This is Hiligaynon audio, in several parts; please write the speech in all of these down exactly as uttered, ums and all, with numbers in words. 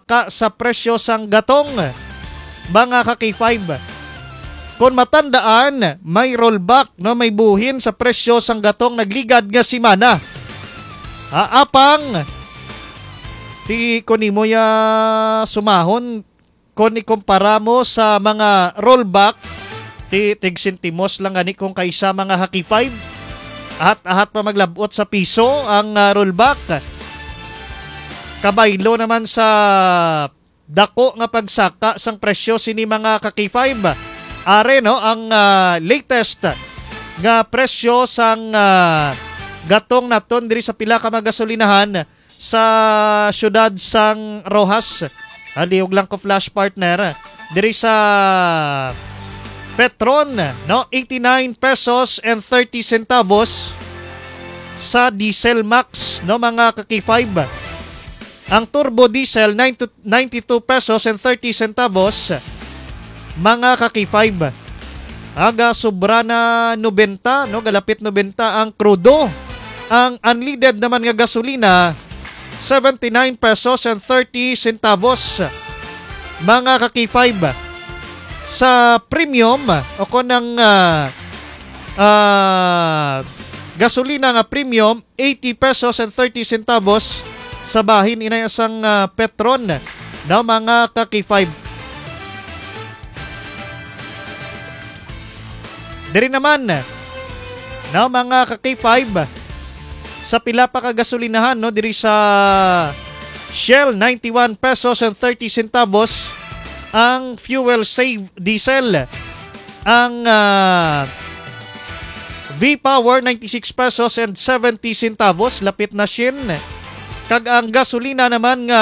pagsaka sa presyo sang gatong, mga ka-K five. Kon matandaan, may rollback, no, may buhin sa presyo sang gatong nagligad nga semana. Ah, apang, ti, kon imo ya sumahon, kon ikumpara mo sa mga rollback, ti, tig sentimos lang gani kung kaysa, mga ka-K five. Ahat-ahat pa maglabot sa piso ang, ah, rollback. Kabaylo naman sa dako nga pagsaka sang presyo sini, mga ka-K five. Are, no, ang, ah, latest nga presyo sang, ah, gatong naton diri sa pila ka mga gasolinahan sa siyudad sang Roxas. Halihog lang ko, flash, partner. Diri sa Petron, no, eighty-nine pesos and thirty centavos. Sa Diesel Max, no, mga ka-K five. Ang turbo diesel, nine to, ninety-two pesos and thirty centavos, mga ka-K five. Aga sobra na nobenta, no, galapit nobenta ang krudo. Ang unleaded naman nga gasolina, seventy-nine pesos and thirty centavos, mga ka-K five. Sa premium, o kon ang, ah, ah, gasolina nga premium, eighty pesos and thirty centavos. Sa bahin, inay, sang, ah, Petron, no, mga ka-K five. Diri naman, no, mga ka-K five, sa pila pa ka gasolinahan, no, diri sa Shell, ninety-one pesos and thirty centavos ang fuel save diesel. Ang, ah, V-Power, ninety-six pesos and seventy centavos, lapit na shin. Kag ang gasolina naman nga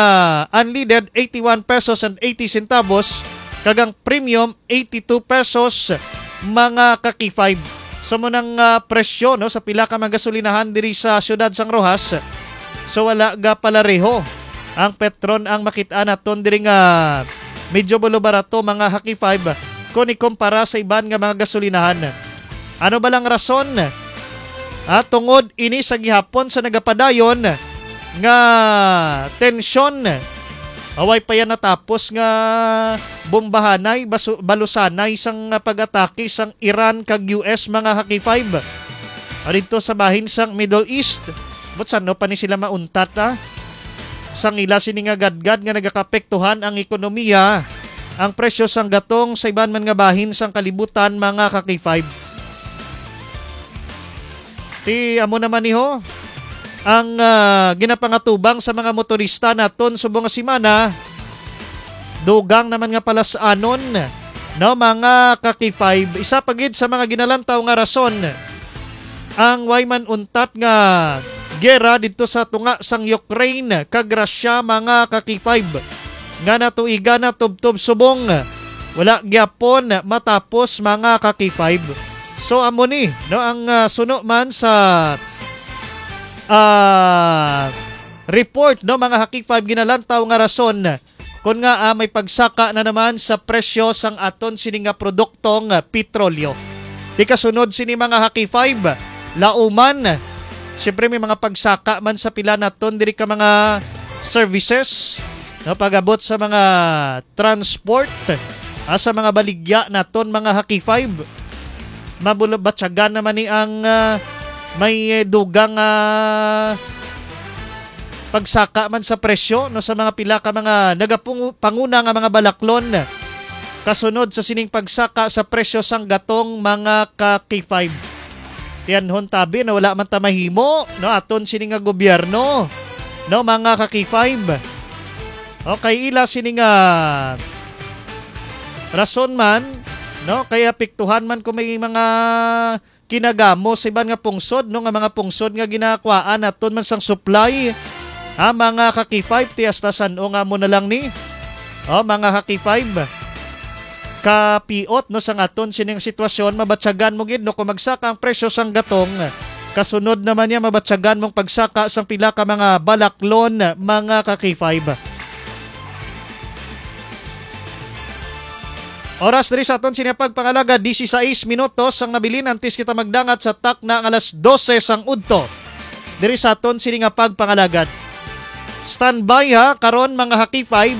unleaded, eighty-one pesos and eighty centavos, kag ang premium, eighty-two pesos, mga ka-K five. So, mo nang, ah, presyo, no, sa pila ka mga gasolinahan diri sa siyudad sang Roxas. So, wala ga palareho ang Petron ang makit-an naton diri nga medyo bulo barato, mga ka-K five, kung ikumpara sa iban nga mga gasolinahan. Ano ba lang rason? Ah, tungod ini sa gihapon sa nagapadayon nga tensyon. Away pa yan natapos nga bombahanay, basu-, balusanay sang pag-atake sang Iran kag U S, mga ka-K five. Adto sa bahin sang Middle East, but sano pa ni sila mauntat, ah? Sang ila sini nga gadgad nga nagakapektuhan ang ekonomiya, ang presyo sang gatong sa iban man nga bahin sang kalibutan, mga ka-K five. Ti amo naman niho ang, ah, ginapangatubang sa mga motorista naton subong nga semana. Dugang naman nga palas-anon, no, mga ka-K five. Isa pa gid sa mga ginalantaw nga rason ang way man untat nga gera didto sa tunga sang Ukraine kag Russia, mga ka-K five, nga natuigan na tubtob subong wala gyapon matapos, mga ka-K five. So, amo ni, no, ang, ah, suno man sa, ah, report, no, mga ka-K five, ginalantaw nga rason kon nga, ah, may pagsaka na naman sa presyo sang aton sini nga produktong, ah, petrolyo. Di kasunod sini, mga ka-K five, lauman, siyempre, may mga pagsaka man sa pila naton diri ka mga services, no, pag-abot sa mga transport, ah, sa mga baligya naton, mga ka-K five. Mabulo-, batyagan naman ni ang, ah, may, eh, dugang, ah, pagsaka man sa presyo, no, sa mga pila ka mga nagapung-, panguna nga mga balaklon kasunod sa sining pagsaka sa presyo sang gatong, mga ka-K five. Tiyanhon tabi na wala man ta mahimo, no, aton sini nga gobyerno, no, mga ka-K five. Okay, ila sini nga rason man, no, kay apektuhan man kung may mga kinagamo sa iban nga pungsod, no, nga mga pungsod nga ginakuhaan naton man sang supply, ha, mga ka-K five, ti hasta san-o nga amo na lang ni, oh, mga ka-K five, kapiot, no, sang aton sining sitwasyon, mabatyagan mo gid, no, kung magsaka ang presyo sang gatong, kasunod naman niya, mabatyagan mong pagsaka sang pila ka mga balaklon, mga ka-K five. Oras diri sa aton sini pagpangalagad, dieciséis minutos ang nabilin antes kita magdangat sa takna nga alas dose sang udto. Diri sa aton sini nga pagpangalagad. Standby ha, karon, mga ka-K five,